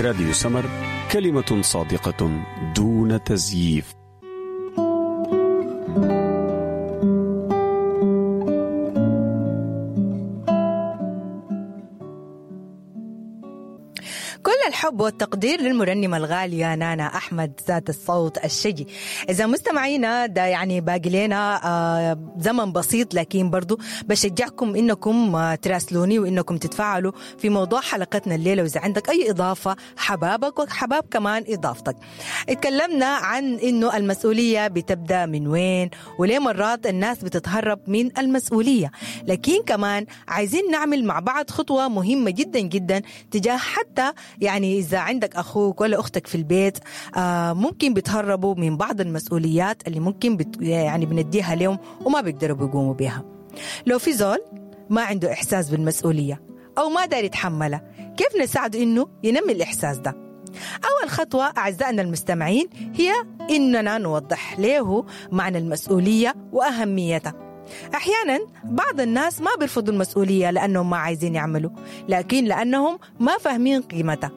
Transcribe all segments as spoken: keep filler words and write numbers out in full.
راديو سمر، كلمة صادقة دون تزييف. كل الحب والتقدير للمرنمة الغالية نانا أحمد ذات الصوت الشجي. إذا مستمعينا ده يعني باقي لنا آه زمن بسيط، لكن برضو بشجعكم إنكم آه تراسلوني وإنكم تتفاعلوا في موضوع حلقتنا الليلة، وإذا عندك أي إضافة حبابك وحباب كمان إضافتك. اتكلمنا عن إنه المسؤولية بتبدأ من وين وليه مرات الناس بتتهرب من المسؤولية، لكن كمان عايزين نعمل مع بعض خطوة مهمة جدا جدا تجاه حتى يعني إذا عندك أخوك ولا أختك في البيت آه ممكن بيتهربوا من بعض المسؤوليات اللي ممكن بت يعني بنديها لهم وما بيقدروا بيقوموا بيها. لو في زول ما عنده إحساس بالمسؤولية أو ما دار يتحملها، كيف نساعده إنه ينمي الإحساس ده؟ أول خطوة أعزائنا المستمعين هي إننا نوضح له معنى المسؤولية وأهميتها. أحيانا بعض الناس ما بيرفضوا المسؤولية لأنهم ما عايزين يعملوا، لكن لأنهم ما فاهمين قيمتها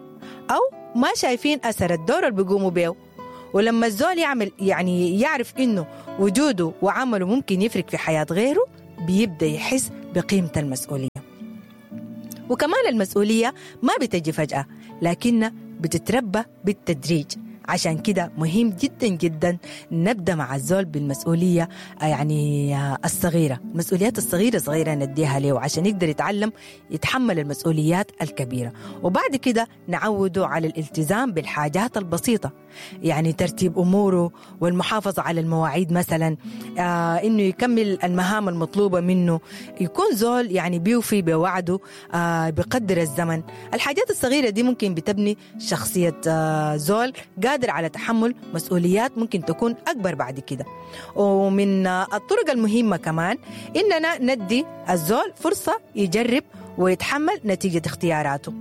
أو ما شايفين أثر الدور اللي بيقوموا بيه. ولما الزول يعمل يعني يعرف إنه وجوده وعمله ممكن يفرق في حياة غيره، بيبدأ يحس بقيمة المسؤولية. وكمان المسؤولية ما بتجي فجأة، لكنها بتتربى بالتدريج. عشان كده مهم جدا جدا نبدأ مع الزول بالمسؤولية يعني الصغيرة، المسؤوليات الصغيرة صغيرة نديها له عشان يقدر يتعلم يتحمل المسؤوليات الكبيرة. وبعد كده نعوده على الالتزام بالحاجات البسيطة، يعني ترتيب أموره والمحافظة على المواعيد مثلا، آه إنه يكمل المهام المطلوبة منه، يكون زول يعني بيوفي بوعده، آه بقدر الزمن. الحاجات الصغيرة دي ممكن بتبني شخصية آه زول قادر على تحمل مسؤوليات ممكن تكون أكبر بعد كده. ومن الطرق المهمة كمان إننا ندي الزول فرصة يجرب ويتحمل نتيجة اختياراته.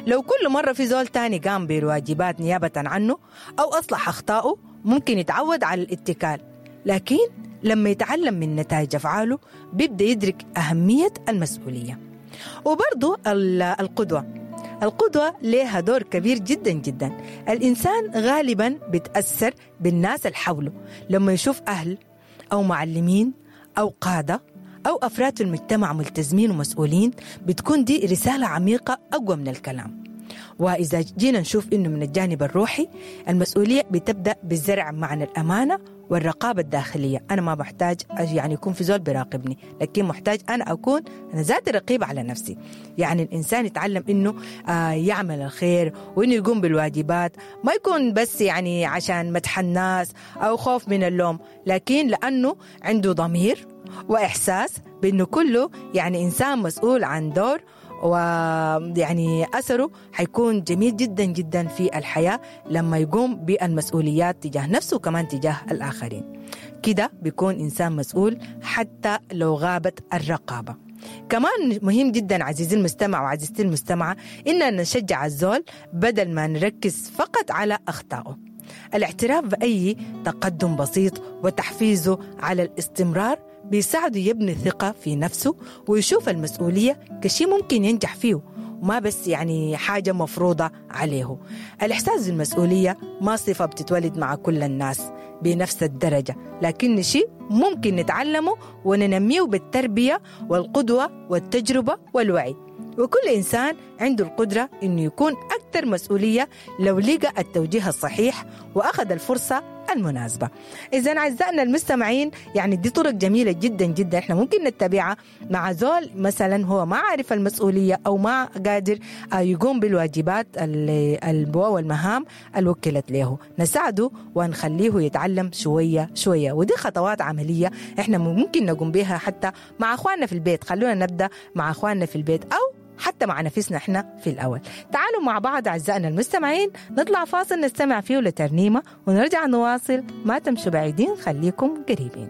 لو كل مرة في زول تاني قام بالواجبات نيابة عنه أو أصلح أخطائه، ممكن يتعود على الاتكال، لكن لما يتعلم من نتائج أفعاله بيبدأ يدرك أهمية المسؤولية. وبرضو القدوة، القدوة لها دور كبير جدا جدا. الإنسان غالبا بيتأثر بالناس اللي حوله، لما يشوف أهل أو معلمين أو قادة أو أفراد في المجتمع ملتزمين ومسؤولين، بتكون دي رسالة عميقة أقوى من الكلام. وإذا جينا نشوف إنه من الجانب الروحي، المسؤولية بتبدأ بالزرع معنى الأمانة والرقابة الداخلية. أنا ما بحتاج يعني يكون في زول بيراقبني، لكن محتاج أنا أكون أنا ذات رقيب على نفسي. يعني الإنسان يتعلم إنه آه يعمل الخير وإنه يقوم بالواجبات، ما يكون بس يعني عشان مدح الناس أو خوف من اللوم، لكن لأنه عنده ضمير وإحساس بأنه كله يعني إنسان مسؤول عن دور، ويعني أثره حيكون جميل جدا جدا في الحياة لما يقوم بالمسؤوليات تجاه نفسه وكمان تجاه الآخرين. كده بيكون إنسان مسؤول حتى لو غابت الرقابة. كمان مهم جدا عزيزي المستمع وعزيزتي المستمعة إننا نشجع الزول بدل ما نركز فقط على أخطائه. الاعتراف بأي تقدم بسيط وتحفيزه على الاستمرار بيساعده يبني ثقة في نفسه ويشوف المسؤولية كشيء ممكن ينجح فيه، وما بس يعني حاجة مفروضة عليه. الإحساس بالمسؤولية ما صفة بتتولد مع كل الناس بنفس الدرجة، لكن شيء ممكن نتعلمه وننميه بالتربية والقدوة والتجربة والوعي. وكل إنسان عنده القدرة إنه يكون أكثر مسؤولية لو لقى التوجيه الصحيح وأخذ الفرصة المناسبة. إذن أعزائنا المستمعين، يعني دي طرق جميلة جدا جدا إحنا ممكن نتبعها مع زول مثلا هو ما عارف المسؤولية أو ما قادر يقوم بالواجبات والمهام الوكلت له، نساعده ونخليه يتعلم شوية شوية. ودي خطوات عملية إحنا ممكن نقوم بها حتى مع أخواننا في البيت. خلونا نبدأ مع أخواننا في البيت أو حتى مع نفسنا احنا في الأول. تعالوا مع بعض أعزائنا المستمعين نطلع فاصل نستمع فيه لترنيمة ونرجع نواصل. ما تمشوا بعيدين، خليكم قريبين.